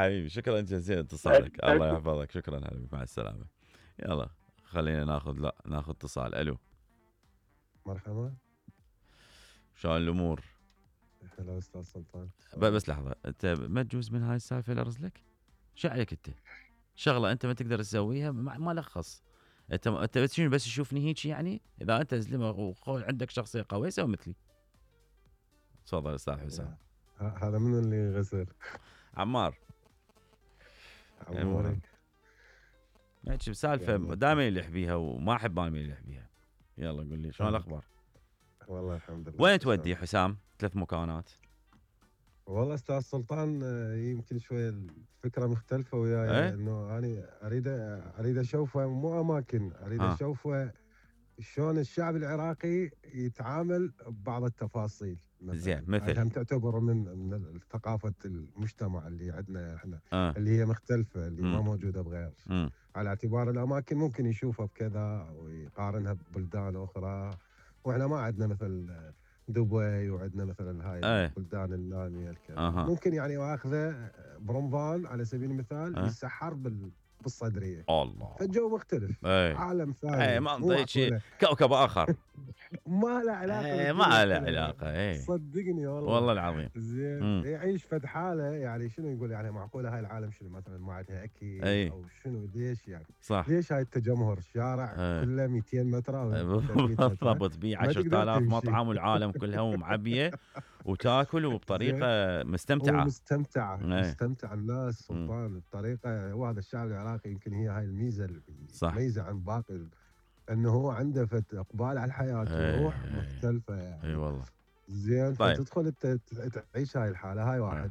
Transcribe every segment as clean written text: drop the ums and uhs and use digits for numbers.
حبيبي شكرا جزيلا اتصالك، الله يحفظك، شكرا حبيبي، مع السلامه. يلا خلينا ناخذ اتصال. الو مرحبا، شلون الامور؟ هلا استاذ سلطان. بس لحظه، انت ما تجوز من هاي السالفه اللي ارسلك؟ شو عليك انت؟ شغله انت ما تقدر تسويها ما لخص. انت بس شنو، بس تشوفني هيك يعني؟ اذا انت زلمه وعندك شخصيه قويه سوي مثلي. تفضل استاذ حسام. هذا من اللي غسل؟ عمار. عموري. نحكي بسالفه دائما يلح بيها وما احب انا يلح بيها. يلا قول لي شلون الاخبار؟ والله الحمد لله. وين تودي حسام؟ 3 مكانات. والله استاذ سلطان يمكن شويه الفكره مختلفه وياي، انه انا اريد اشوفه مو اماكن، اريد اشوفه شلون الشعب العراقي يتعامل ببعض التفاصيل. زين، مثل هم تعتبر من ثقافه المجتمع اللي عندنا احنا، اللي هي مختلفه، اللي ما موجوده بغير. على اعتبار الاماكن ممكن يشوفها بكذا ويقارنها ببلدان اخرى، واحنا ما عندنا مثل دبي وعندنا مثلا هاي البلدان الناميه الكذا. ممكن يعني واخذه برمضان على سبيل المثال يسحر بالصدريه. الله، فالجو مختلف. عالم ثاني، منطقه شيء، كوكب اخر. ما له علاقه، ما له علاقه. صدقني والله العظيم. زين يعيش فد حاله، يعني شنو يقول، يعني معقوله هاي العالم شنو مثلا ما عندها اكل او شنو؟ ليش يعني؟ صح. ليش هاي التجمهر؟ الشارع كله 200 متر او بالضبط، بيه 10,000 مطعم والعالم كلها معبيه وتاكل وبطريقه مستمتعه. مستمتع الناس سلطان بطريقه. وهذا الشعب العراقي يمكن هي هاي الميزه المميزه عن باقي، انه هو عنده اقبال على الحياه وروح مختلفه يعني. اي والله. زين. طيب. فتدخل انت تعيش هاي الحاله. هاي واحد.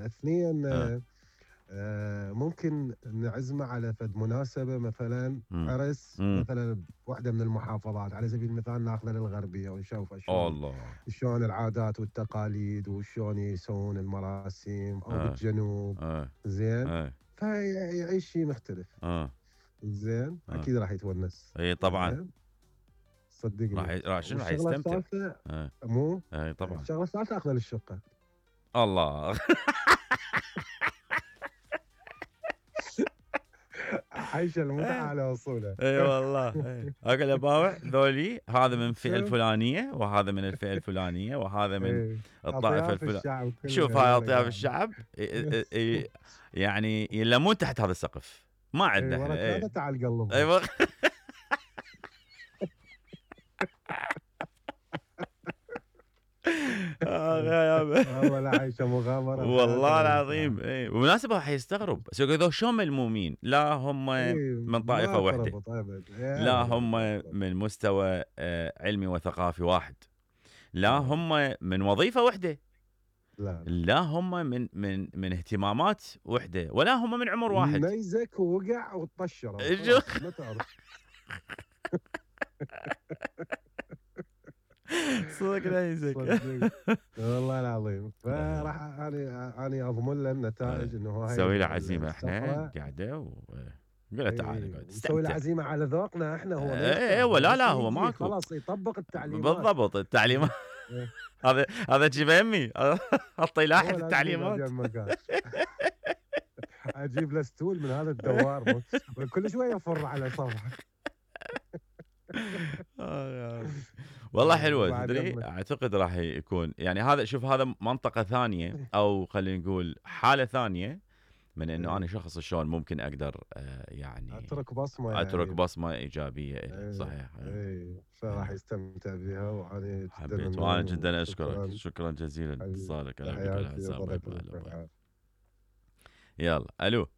اثنين، ممكن نعزمه على فد مناسبه مثلا عرس مثلا بوحده من المحافظات، على سبيل المثال ناخذه للغربيه ونشوف شلون العادات والتقاليد وشلون يسوون المراسم، او بالجنوب. زين. فيعيش شيء مختلف. زين. اكيد راح يتونس. اي طبعا. صدقني راح يستمتع. مو طبعا. الشغله الثالثه اخذه للشقه. الله. عايشه المتعه على وصوله. اي والله. اقول اباوع ذولي، هذا من الفئه الفلانيه وهذا من الفئه الفلانيه وهذا من الطائفه الفلانيه. شوف هاي اطياف الشعب يعني يلمون تحت هذا السقف. ما عندنا احنا. هذا تعال قلب. ايوه. والله لا عايشه مغامره والله العظيم. اي بالمناسبه راح يستغرب، بس يقولوا شلون ملمومين؟ لا هم من طائفه واحده، لا هم من مستوى علمي وثقافي واحد، لا هم من وظيفه واحده، لا هم من اهتمامات وحده، ولا هم من عمر واحد. نيزك ووقع وطشر ما تعرف. صدق نيزك. والله العظيم. فراح انا اضمن له النتائج، انه هو نسوي له عزيمه احنا قاعده قول له تعال اقعد نسوي له عزيمه على ذوقنا احنا. هو ايوه لا هو ماكو، خلاص يطبق التعليمات بالضبط. التعليمات هذا جيب امي اعطي لاحق التعليمات. اجيب له ستول من هذا الدوار كل شويه يفر على صفحه. والله حلوه. تدري اعتقد راح يكون يعني هذا، شوف هذا منطقه ثانيه، او خلينا نقول حاله ثانيه من انه انا شخص شلون ممكن اقدر يعني اترك بصمه ايجابيه. صحيح. فراح يستمتع بها. وانا جدا اشكرك، شكرا جزيلا لاتصالك. يلا الو.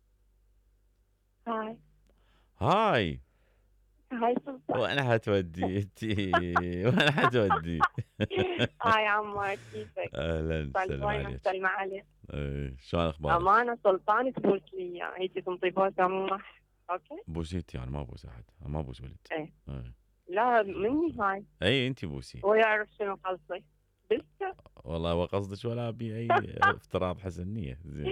هاي سلطان. وين حتودي انتي؟ وين حتودي؟ هاي عمار، كيفك؟ اهلا وسهلا. سلمى عليك. شلون اخبارك؟ امانه سلطان تبوس لي اياه، هيك تنطي بوسه. اوكي بوسيتي؟ انا ما ابوس احد، ما ابوس ولد. لا مني هاي. اي انتي بوسي. هو يعرف شنو قصدي. والله هو قصدك ولا ابي اي افتراض حسن نيه. زين.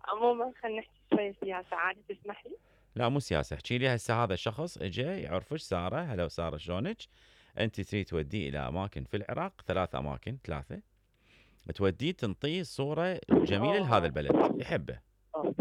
عموما خلينا نحكي شويه سياسه، عادي تسمح لي؟ لا مو سياسه، احكي لي هسه هذا الشخص اجى يعرفك ساره. هلا ساره شلونك؟ انت تريد توديه الى اماكن في العراق، 3 اماكن، 3 توديه تنطيه صوره جميله لهذا البلد يحبه.